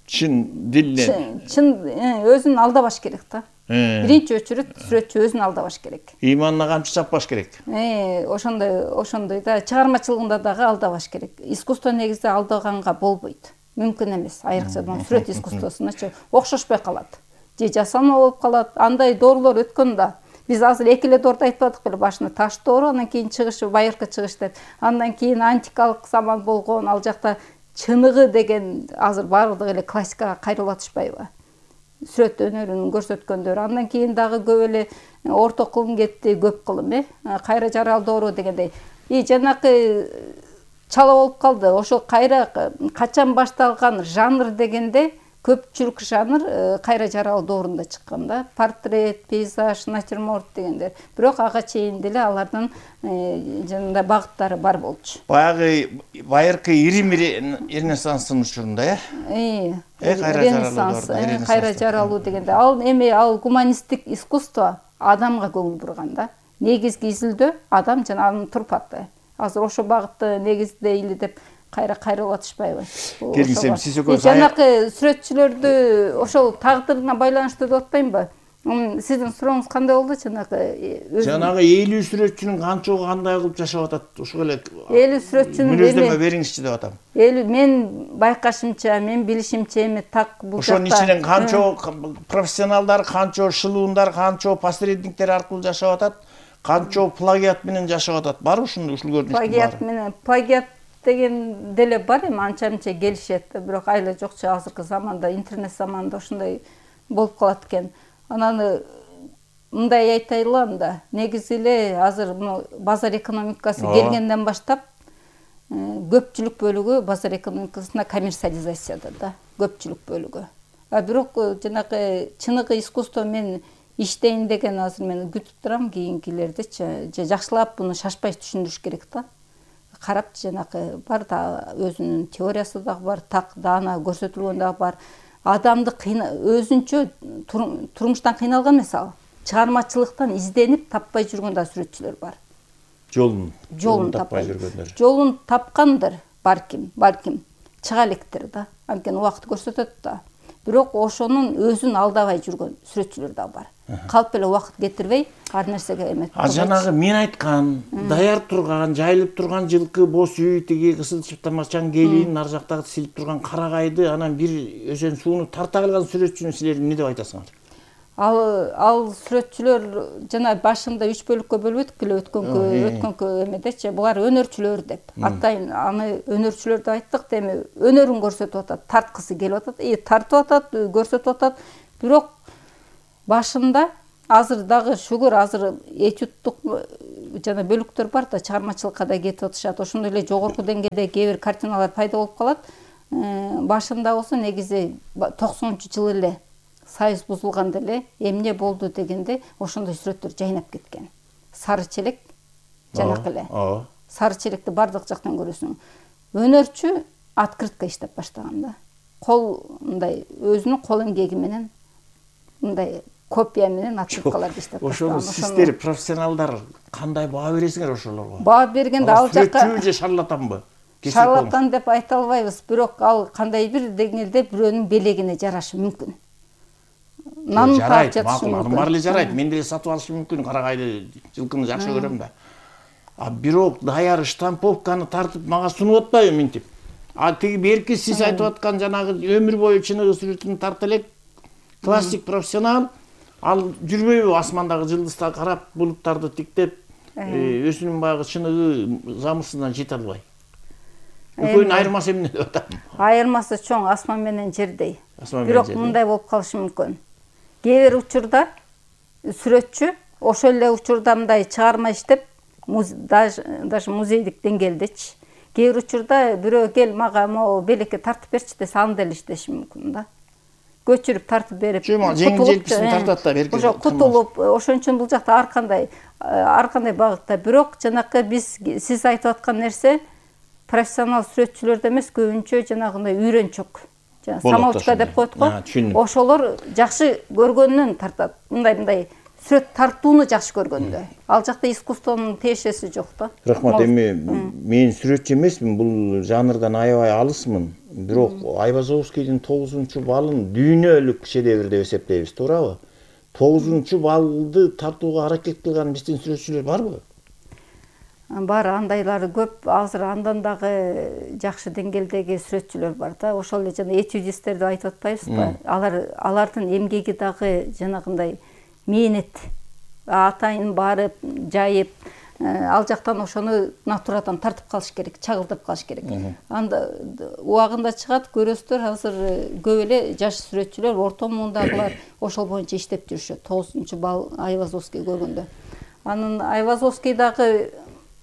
чын дилден чын өзүн алдабаш керек да. Биринчи өчүрүп сүрөтчү өзүн алдабаш керек. Иманына камчы чаппаш керек. Э, ошондой, ошондой да чыгармачылыгында дагы алдабаш керек. Искусство негизи алдаганга болбойт. Мүмкүн эмес. Айрыкча сүрөт искусствосуначы окшошпой калат. Же жасалма болуп калат. Андай доорлор өткөн да. Биз азыр эки эле доорду айтпадык беле, башында таш доору, андан кийин чыгышы, байыркы чыгыш деп. Андан кийин антикалык заман болгон, ал жакта чыныгы деген азыр баардыгы эле классикага кайрылатышпайбы? Сүрөт өнөрүн көрсөткөндөр. Андан кийин дагы көп эле орто кылым кетти, көп кылым, э? Кайра жарал доору дегендей. И жанакы чала болуп калды. Ошол кайра качан башталган жанр дегенде көпчүлүк жанр кайра жарал доорунда чыккан да. Портрет, пейзаж, натюрморт дегендер. Бирок ага чейин деле алардын жанында багыттары бар болчу. Баягы байыркы Рим Ренессанстын учурунда, э? Э, Ренессанс, кайра жаралуу дегенде ал эми ал гуманисттик искусство адамга көңүл бурган да. Негизги изилдөө адам жана анын турпаты. Азыр ошо багытты негиздейли деп кайра кайрылатышпайбы? Келгисем сиз экөөсү жанакы сүрөтчүлөрдү ошол тагдырына байланыштуу деп атпаймынбы? Сиздин сурооңуз кандай болду? Жанагы жанагы элүү сүрөтчүнүн канчоо кандай кылып жашап атат? Ошол эле элүү сүрөтчүнүн мүнөздөмө бериңизчи деп атам. Элүү мен байкашымча, мен билишимче эми так бул жакта. Ошонун ичинен канчоо профессионалдар, канчоо шылуундар, канчоо посредниктер аркылуу жашап атат, канчоо плагиат менен жашап атат. Бар ушундай ушул көрүнүштү бар. Плагиат менен плагиат деген деле бар, эми анча-мынча келишет, бирок айла жокчу азыркы заманда, интернет заманында ошондой болуп калат экен. Анан мындай айтайлы анда, негизи эле азыр базар экономикасы келгенден баштап көпчүлүк бөлүгү базар экономикасына коммерциализацияда да, көпчүлүк бөлүгү. А бирок жанагы чыныгы искусство мен иштейин деген азыр мен күтүп турам кийинкилердичи. Же жакшылап буну шашпай түшүндүрүш керек да. Карап жанагы бар да, өзүнүн теориясы дагы бар, так даана көрсөтүлгөн дагы бар. Адамды өзүнчө турмуштан кыйналган эмес ал. Чыгармачылыктан изденип таппай жүргөн да сүрөтчүлөр бар. Жолун, жолун таппай жүргөндөр. Жолун тапкандыр, барким, балким чыга электир да. Анткени убакыт көрсөтөт да. Бирок ошонун өзүн алдабай жүргөн сүрөтчүлөр да бар. Калп эле убакыт кетирбей, ар нерсеге эмет. А жанагы мен айткан, даяр турган, жайылып турган жылкы, боз үй, тиги кысыл чыптамачан келин, ар жактагы силип турган карагайды, анан бир өзөн сууну тарта калган сүрөтчүнү силер эмне деп айтасыңар? ал ал сүрөтчүлөр жана башында үч бөлүккө бөлүп өттүк эле өткөнкү өткөнкү эмедечи. Булар өнөрчүлөр деп атайын аны өнөрчүлөр деп айттык. Эми өнөрүн көрсөтүп атат, тарткысы келип атат, и тартып атат, көрсөтүп атат. Бирок башында азыр дагы шүгүр азыр этюдтук жана бөлүктөр бар да, чыгармачылыкка да кетип атышат. Ошондой эле жогорку деңгээлде кээ бир картиналар пайда болуп калат. Башында болсо негизи токсонунчу жылы эле союз бузулганда эле эмне болду дегенде ошондой сүрөттөр жайнап кеткен. Сары челек жанакы эле. Сары челекти бардык жактан көрөсүң. Өнөрчү открытка иштеп баштаган да. Кол мындай өзүнүн кол эмгеги менен мындай копия менен открыткаларды иштеп баштаган. Ошону сиздер профессионалдар кандай баа бересиңер ошолорго? Баа бергенде ал жакка сүрөтчү же шарлатанбы? Шарлатан деп айта албайбыз, бирок ал кандай бир деңгээлде бирөөнүн белегине жарашы мүмкүн. Нанын таап жатышы мүмкүн. Баары эле жарайт. Мен деле сатып алышым мүмкүн, карагайды, жылкыны жакшы көрөм да. А бирок даяр штамповканы тартып мага сунуп атпайбы минтип? А тиги берки сиз айтып аткан жанагы өмүр бою чыныгы сүрөтүн тарта элек классик профессионал, ал жүрбөйбү асмандагы жылдызга карап, булуттарды тиктеп, өзүнүн баягы чыныгы замысына жете албай. Экөөнүн айырмасы эмне деп атам? Айырмасы чоң, асман менен жердей. Бирок мындай болуп калышы мүмкүн. Кээ бир учурда сүрөтчү ошол эле учурда мындай чыгарма иштеп, даже музейдик деңгээлдечи. Кээ бир учурда бирөө кел мага могу белекке тартып берчи десе, аны деле иштеши мүмкүн да. Көчүрүп тартып берип, жеңил желписин тартат да берки. Ошо кутулуп, ошон үчүн бул жакта ар кандай ар кандай багытта. Бирок жанакы биз сиз айтып аткан нерсе профессионал сүрөтчүлөрдө эмес, көбүнчө жанагындай үйрөнчөк. Жана самоучка деп коет го. Ошолор жакшы көргөндөн тартат. Мындай-мындай сүрөт тартууну жакшы көргөндө. Ал жакта искусствонун тиешеси жок да. Рахмат, эми мен сүрөтчү эмесмин, бул жанрдан аябай алысмын. Бирок Айвазовскийдин тогузунчу балын дүйнөлүк шедевр деп эсептейбиз, туурабы? тогузунчу балды тартууга аракет кылган биздин сүрөтчүлөр барбы? Бар, андайлары көп. Азыр андан дагы жакшы деңгээлдеги сүрөтчүлөр бар да. Ошол эле жана этюдисттерди айтып атпайбызбы? Алар алардын эмгеги дагы жанагындай мээнет. Атайын барып, жайып, ал жактан ошону натурадан тартып калыш керек, чагылдырып калыш керек. Анда убагында чыгат, көрөсүздөр, азыр көп эле жаш сүрөтчүлөр, орто муундагылар ошол боюнча иштеп жүрүшөт. тогузунчу бал Айвазовский көргөндө. Анын Айвазовский дагы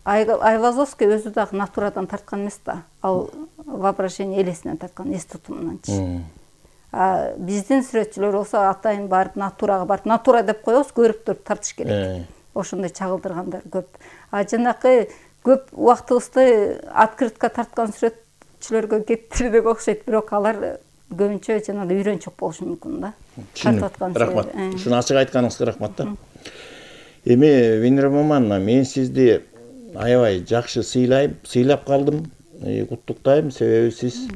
Айвазовский өзү дагы натурадан тарткан эмес да. Ал воображение элесинен тарткан, эс тутумунанчы. А биздин сүрөтчүлөр болсо атайын барып натурага барып, натура деп коебуз, көрүп туруп тартыш керек. Ошондой чагылдыргандар көп. А жанакы көп убактыбызды открытка тарткан сүрөтчүлөргө кетирдик окшойт, бирок алар көбүнчө жанагы үйрөнчөк болушу мүмкүн да. Тартып аткан. Рахмат. Ушуну ачык айтканыңызга рахмат да. Эми Венера Мамановна, мен сизди аябай жакшы сыйлайм, сыйлап калдым, куттуктайм, себеби сиз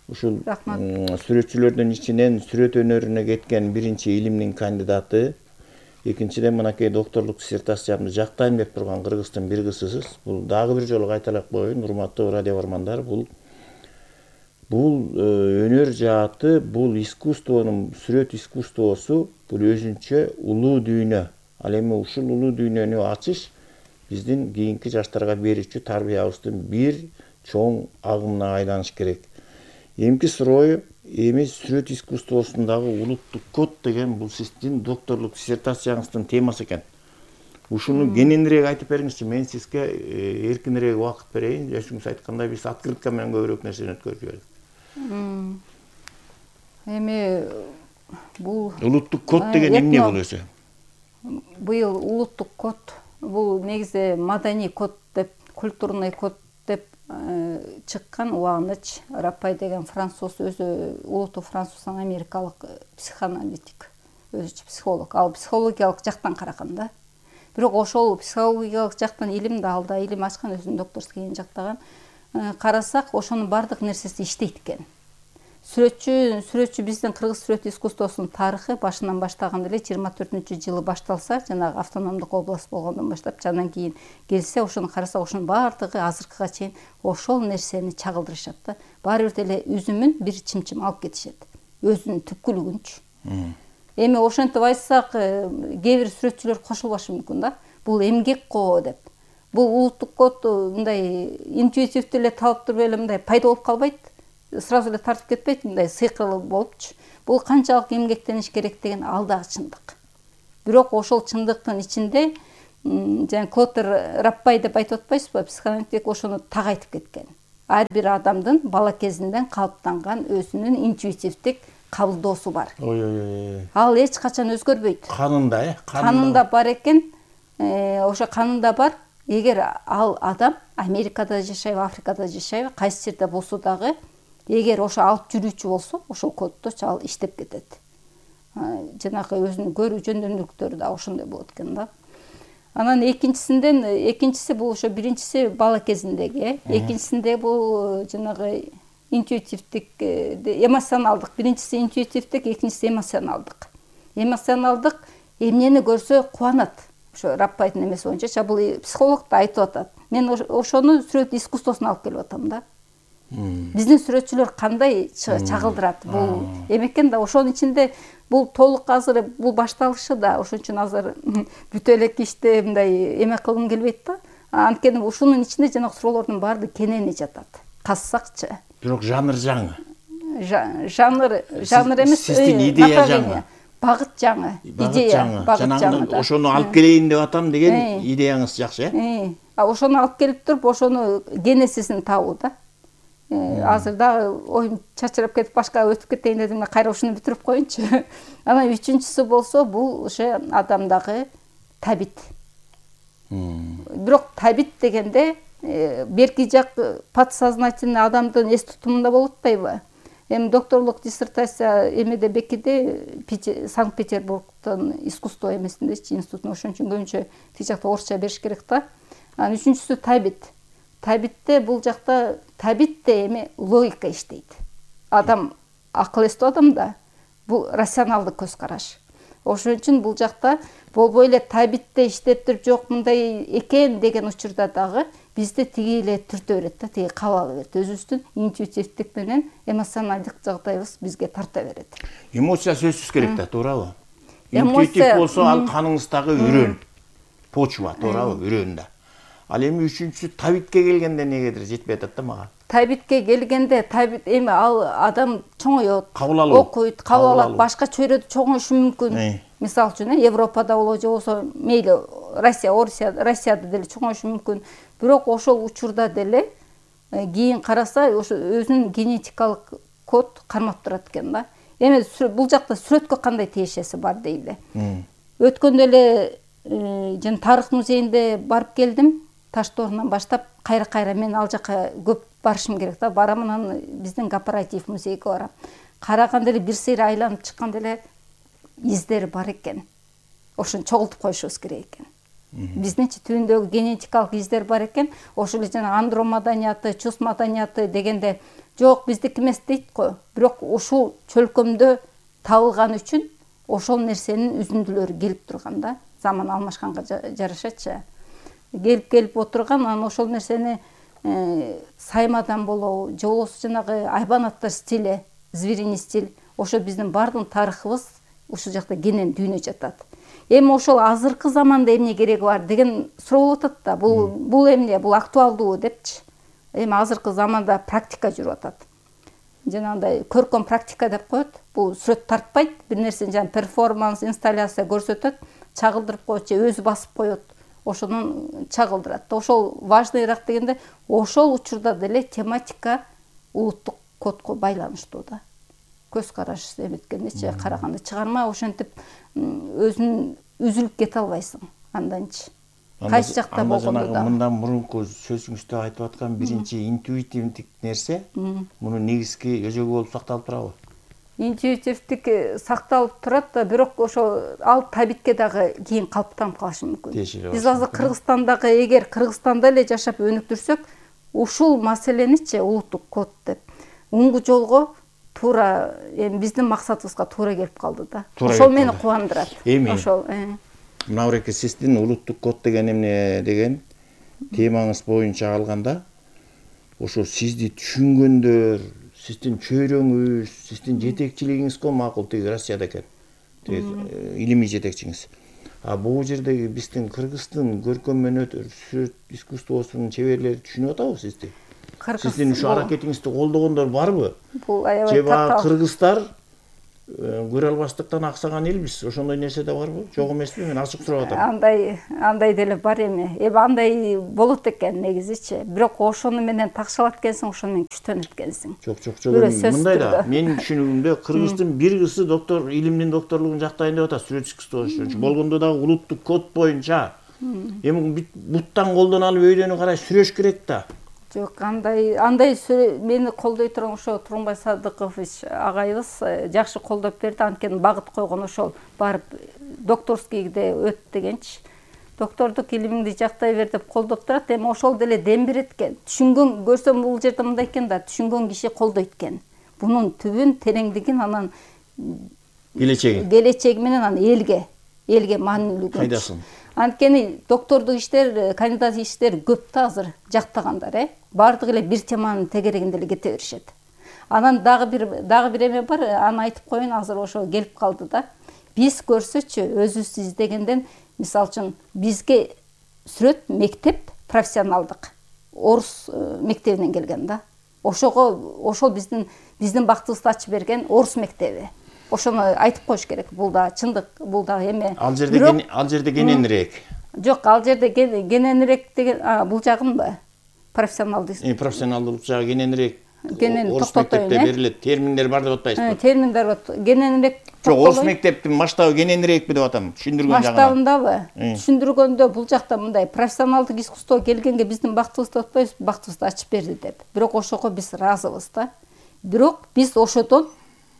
ушул сүрөтчүлөрдүн ичинен сүрөт өнөрүнө кеткен биринчи илимдин кандидаты, экинчиден мынакей докторлук диссертациямды жактайм деп турган кыргыздын бир кызысыз. Бул дагы бир жолу кайталап коеюн, урматтуу радио бармандар, бул бул өнөр жааты, бул искусствонун, сүрөт искусствосу бул өзүнчө улуу дүйнө. Ал эми ушул улуу дүйнөнү ачыш биздин кийинки жаштарга берүүчү тарбиябыздын бир чоң агымына айланыш керек. Эмки суроо, эми сүрөт искусствосундагы улуттук код деген бул сиздин докторлук диссертацияңыздын темасы экен. Ушуну кененирээк айтып бериңизчи, мен сизге эркинирээк убакыт берейин. Өзүңүз айткандай, биз открытка менен көбүрөөк нерсени өткөрүп жибердик. Эми бул улуттук код деген эмне бул өзү? Быйыл улуттук код, бул негизи маданий код деп, культурный код деп чыккан убагындачы. Раппай деген француз, өзү улуттук француздун америкалык психоаналитик, өзүчө психолог. Ал психологиялык жактан караган да. Бирок ошол психологиялык жактан илим да, алда илим ачкан, өзүнүн докторскийин жактаган. Карасак, ошонун бардык нерсеси иштейт экен. Сүрөтчү, сүрөтчү биздин кыргыз сүрөт искусствосунун тарыхы башынан баштаганда эле жыйырма төртүнчү жылы башталса, жанагы автономдук область болгондон баштап, андан кийин келсе, ошону карасак, ошонун бардыгы азыркыга чейин ошол нерсени чагылдырышат да. Баары бир эле үзүмүн бир чымчым алып кетишет. Өзүнүн түпкүлүгүнчү. Эми ошентип айтсак, кээ бир сүрөтчүлөр кошулбашы мүмкүн да. Бул эмгек го деп. Бул улуттук код мындай интуитивдүү эле талап туруп эле мындай пайда болуп калбайт. Сразу эле тартып кетпейт, мындай сыйкырлы болупчу. Бул канчалык эмгектениш керек деген ал дагы чындык. Бирок ошол чындыктын ичинде жана Клотер Раппай деп айтып атпайсызбы, психоаналитик ошону так айтып кеткен. Ар бир адамдын бала кезинден калыптанган өзүнүн интуитивдик кабылдоосу бар. Ой ой ой. Ал эч качан өзгөрбөйт. Канында, э? Канында бар экен. Ошо канында бар. Эгер ал адам Америкада жашайбы, Африкада жашайбы, кайсы жерде болсо дагы, эгер ошо алып жүрүүчү болсо, ошол коддочу ал иштеп кетет. Жанагы өзүнүн көрүү жөндөмдүүлүктөрү да ошондой болот экен да. Анан экинчисинден, экинчиси бул ошо биринчиси бала кезиндеги, экинчисинде бул жанагы интуитивдик, эмоционалдык. Биринчиси интуитивдик, экинчиси эмоционалдык. Эмоционалдык эмнени көрсө кубанат. Ошо Раппайдын эмеси боюнча, бул психолог да айтып атат. Мен ошону сүрөт искусствосуна алып келип атам да. Биздин сүрөтчүлөр кандай чагылдырат бул эмекен да. Ошонун ичинде бул толук азыр бул башталышы да, ошон үчүн азыр бүтө элек ишти мындай эме кылгым келбейт да. Анткени ушунун ичинде жанагы суроолордун баардыгы кенени жатат. Казсакчы. Бирок жанр жаңы. Жанр, жанр эмес, сиздин идея жаңы. Багыт жаңы, идея, багыт жаңы. Ошону алып келейин деп атам деген идеяңыз жакшы, э? А ошону алып келип туруп, ошону генесисин табуу да. Азыр дагы оюм чачырап кетип башка өтүп кетейин дедим, кайра ушуну бүтүрүп коеюнчу. Анан үчүнчүсү болсо, бул ошо адамдагы табит. Бирок табит дегенде берки жак подсознательный адамдын эс тутумунда болуп атпайбы? Эми докторлук диссертация эмеде бекиди, Санкт-Петербургдун искусство эмесиндечи, институтун, ошон үчүн көбүнчө тиги жакта орусча бериш керек да. Анан үчүнчүсү табит. Табитте бул жакта табитте эми логика иштейт. Адам акыл эстүү адам да, бул рационалдык көз караш. Ошон үчүн бул жакта болбой эле табитте иштеп туруп жок мындай экен деген учурда дагы бизди тиги эле түртө берет да, тиги кабыл ала берет. Өзүбүздүн интуитивдик менен эмоционалдык жагдайыбыз бизге тарта берет. Эмоция сөзсүз керек да, туурабы? Интуитив болсо ал каныңыздагы үрөн, почва, туурабы, үрөн да. Ал эми үчүнчүсү табитке келгенде эмнегедир жетпей атат да мага. Табитке келгенде табит эми ал адам чоңойот, окуйт, кабыл алат, башка чөйрөдө чоңоюшу мүмкүн. Мисалы үчүн, Европада болобу же болсо мейли Россия, Орусия, Россияда деле чоңоюшу мүмкүн. Бирок ошол учурда деле кийин караса, ошо өзүнүн генетикалык код кармап турат экен да. Эми бул жакта сүрөткө кандай тиешеси бар дейли. Өткөндө эле жана тарых музейинде барып келдим. Таштоорунан баштап кайра-кайра мен ал жака көп барышым керек да. Барам, анан биздин корпоратив музейге барам. Караганда эле бир сыйра айланып чыкканда эле издери бар экен. Ошону чогултуп коюшубуз керек экен. Биздинчи түбүндөгү генетикалык издер бар экен. Ошол эле жана андро маданияты, чус маданияты дегенде жок биздики эмес дейт го. Бирок ушул чөлкөмдө табылган үчүн ошол нерсенин үзүндүлөрү келип турган да. Заман алмашканга жарашачы. Келип-келип отурган, анан ошол нерсени саймадан болобу, же болбосо жанагы айбанаттар стили, звериный стиль, ошо биздин бардык тарыхыбыз ушул жакта кенен дүйнө жатат. Эми ошол азыркы заманда эмне кереги бар деген суроо болуп атат да. Бул бул эмне, бул актуалдуу депчи. Эми азыркы заманда практика жүрүп атат. Жанагындай көркөм практика деп коет. Бул сүрөт тартпайт, бир нерсени жана перформанс, инсталляция көрсөтөт, чагылдырып коет же өзү басып коет. Ошонун чагылдырат. Ошол важныйраак дегенде, ошол учурда деле тематика улуттук кодго байланыштуу да. Көз караш эметкендечи караганда чыгарма ошентип өзүн үзүлүп кете албайсың анданчы. Кайсы жакта болгондо да. Мындан мурунку сөзүңүздө айтып аткан биринчи интуитивдик нерсе, мунун негизги өзөгү болуп сакталып турабы? Интуитивдик сакталып турат да, бирок ошо ал табитке дагы кийин калыптанып калышы мүмкүн. Биз азыр Кыргызстандагы, эгер Кыргызстанда эле жашап өнүктүрсөк, ушул маселеничи улуттук код деп уңгу жолго туура эми биздин максатыбызга туура келип калды да. Ошол мени кубандырат. Эми ошол. Мынабеке сиздин улуттук код деген эмне деген темаңыз боюнча алганда, ошо сизди түшүнгөндөр, сиздин чөйрөңүз, сиздин жетекчилигиңиз го макул тиги Россияда экен. илимий жетекчиңиз. А бул жердеги биздин Кыргыздын көркөм өнөр сүрөт искусствосунун чеберлери түшүнүп атабы сизди? Сиздин ушу аракетиңизди колдогондор барбы? Бул аябай же баягы кыргыздар көрө албастыктан аксаган элбиз? Ошондой нерсе да барбы? Жок эмеспи? Мен ачык сурап атам. Андай андай деле бар эми. Эми андай болот экен негизичи. Бирок ошону менен такшалат экенсиң, ошону менен күчтөнөт экенсиң. Жок, жок, жок. Мындай да, менин түшүнүгүмдө Кыргыздын бир кызы доктор, илимдин докторлугун жактайын деп атат, сүрөт искусствосу. Болгондо дагы улуттук код боюнча. Эми буттан колдон алып өйдөнү карай сүрөш керек да. Жок, андай андай мени колдой турган ошо Турунбай Садыкович агайыбыз жакшы колдоп берди. Анткени багыт койгон ошол барып докторскийде өт дегенчи. Доктордук илимиңди жактай бер деп колдоп турат. Эми ошол деле дем берет экен. Түшүнгөн көрсөм бул жерде мындай экен да, түшүнгөн киши колдойт экен. Бунун түбүн, тереңдигин, анан келечеги. Келечеги менен анан элге, элге маанилүүлүгүн. Кайдасын? Анткени доктордук иштер, кандидат иштер көп да азыр жактагандар, э. Бардыгы эле бир теманын тегерегинде эле кете беришет. Анан дагы бир дагы бир эме бар, аны айтып коеюн, азыр ошо келип калды да. Биз көрсөчү өзүбүз издегенден, мисалы үчүн бизге сүрөт мектеп профессионалдык орус мектебинен келген да. Ошого ошол биздин биздин бактыбызды ачып берген орус мектеби. Ошону айтып коюш керек. Бул да чындык, бул да эме. Ал жерде ал жерде кененирээк. Жок, ал жерде кененирээк деген, бул жагынбы? Профессионалдык. Э, профессионалдык жагы кененирээк. Кенен орус мектепте берилет. Терминдер бар деп атпайсызбы? Терминдер бар. Кененирээк. Жок, орус мектептин масштабы кененирээкпи деп атам. Түшүндүргөн жагынан. Масштабындабы? Түшүндүргөндө бул жакта мындай профессионалдык искусство келгенге биздин бактыбызды атпайбыз, бактыбызды ачып берди деп. Бирок ошого биз разыбыз да. Бирок биз ошодон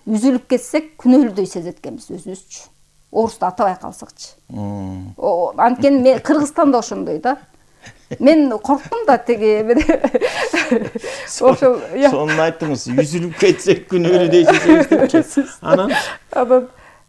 үзүлүп кетсек күнөөлүүдөй сезет экенбиз өзүбүзчү. Орусту атабай калсакчы. Анткени мен Кыргызстанда ошондой да. Мен корктум да теги ошол. Сонун айттыңыз, үзүлүп кетсек күнөөлүүдөй сезебиз. Анан анан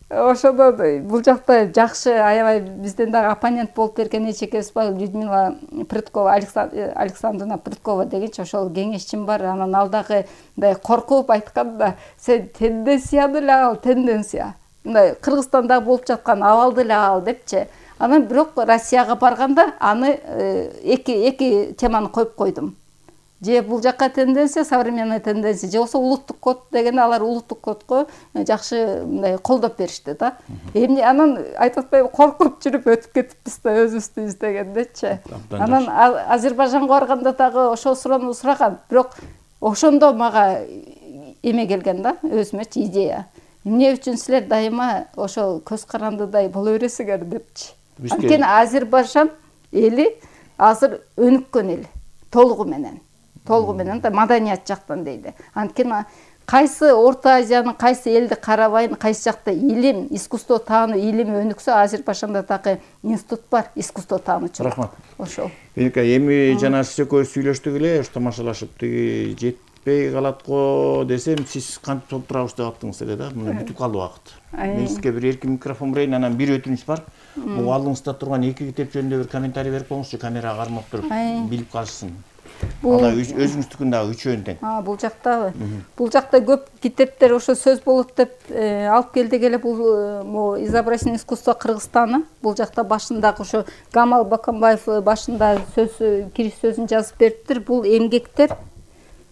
ошондон бул жакта жакшы, аябай бизден дагы оппонент болуп берген эчекебиз бар, Людмила Прыткова, Александрина Прыткова дегенчи ошол кеңешчим бар. Анан ал дагы мындай коркуп айткан да, сен тенденцияны эле ал, тенденция. Мындай Кыргызстанда болуп жаткан абалды эле ал депчи. Анан бирок Россияга барганда аны эки эки теманы коюп койдум. Же бул жакка тенденция, современная тенденция, же болсо улуттук код дегенде алар улуттук кодго жакшы мындай колдоп беришти да. Эми анан айтып атпайбы, коркуп жүрүп өтүп кетипбиз да өзүбүздү издегендечи. Анан Азербайжанга барганда дагы ошол суроону сураган, бирок ошондо мага эме келген да, өзүмөчү идея. Эмне үчүн силер дайыма ошол көз карандыдай боло бересиңер депчи. Анткени Азербайжан эли азыр өнүккөн эл толугу менен. Толугу менен да маданият жактан дейли. Анткени кайсы Орто Азиянын кайсы элди карабайын, кайсы жакта илим, искусство таануу илими өнүксө, Азербайжанда дагы институт бар, искусство таануучу. Рахмат. Ошол. Эки эми жана сиз экөөбүз сүйлөштүк эле, тамашалашып тиги жетпей калат го десем, сиз кантип толтурабыз деп аттыңыз эле да. Мына бүтүп калды убакыт. Мен сизге бир эркин микрофон берейин, анан бир өтүнүч бар. Бул алдыңызда турган эки китеп жөнүндө бир комментарий берип коюңузчу, камерага кармап туруп билип калышсын. Бул өзүңүздүкүн дагы үчөөнү тең. А, бул жактабы? Бул жакта көп китептер ошо сөз болот деп алып келдик эле. Бул изобразительное искусство Кыргызстана. Бул жакта башындагы ошо Гамал Баканбаев башында сөз кириш сөзүн жазып бериптир. Бул эмгектер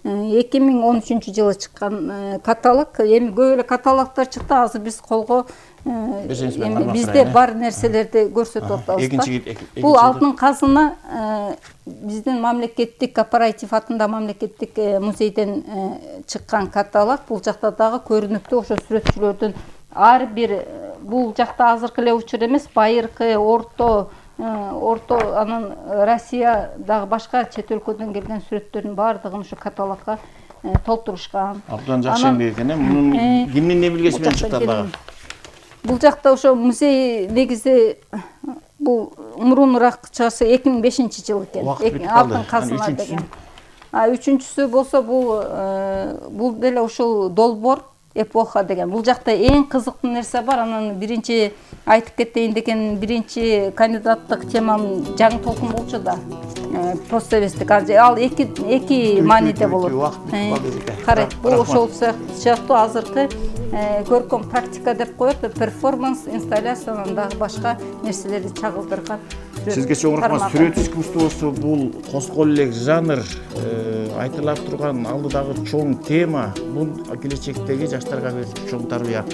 эки миң он үчүнчү жылы чыккан каталог. Эми көп эле каталогдор чыкты. Азыр биз колго бизде бар нерселерди көрсөтүп атабыз. Бул алтын казына биздин мамлекеттик корпоратив атында мамлекеттик музейден чыккан каталог. Бул жакта дагы көрүнүктүү ошо сүрөтчүлөрдүн ар бир, бул жакта азыркы эле учур эмес, байыркы, орто, орто анан Россия дагы башка чет өлкөдөн келген сүрөттөрдүн баардыгын ушу каталогко толтурушкан. Абдан жакшы эмгек экен, мунун кимдин эмилгеси менен чыкты дагы? Бул жакта ошо музей негизи бул мурунураак чыгасы эки миң бешинчи жыл экен. Алтын казына деген. А үчүнчүсү болсо бул бул деле ушул долбоор эпоха деген. Бул жакта эң кызыктуу нерсе бар. Анан биринчи айтып кетейин деген биринчи кандидаттык темам жаңы толкун болчу да. Постсоветтик. Ал эки эки мааниде болот. Карайт, бул ошол сыяктуу азыркы көркөм практика деп коет, перформанс, инсталляциянан дагы башка нерселерди чагылдырган. Сизге чоң рахмат. Сүрөт искусствосу бул коскол элек жанр, айтылып турган алдыдагы чоң тема, бул келечектеги жаштарга берүүчү чоң тарбия.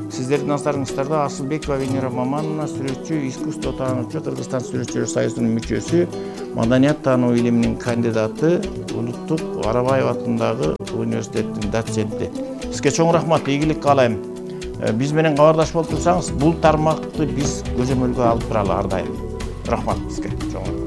Сиздердин назарыңыздарда Асылбекова Венера Мамановна, сүрөтчү, искусство таануучу, Кыргызстан сүрөтчүлөр союзунун мүчөсү, маданият таануу илиминин кандидаты, Улуттук Арабаев атындагы университеттин доценти. Сизге чоң рахмат, ийгилик каалайм. Биз менен кабардаш болуп турсаңыз, бул тармакты биз көзөмөлгө алып туралы ар дайым. Рахмат сизге.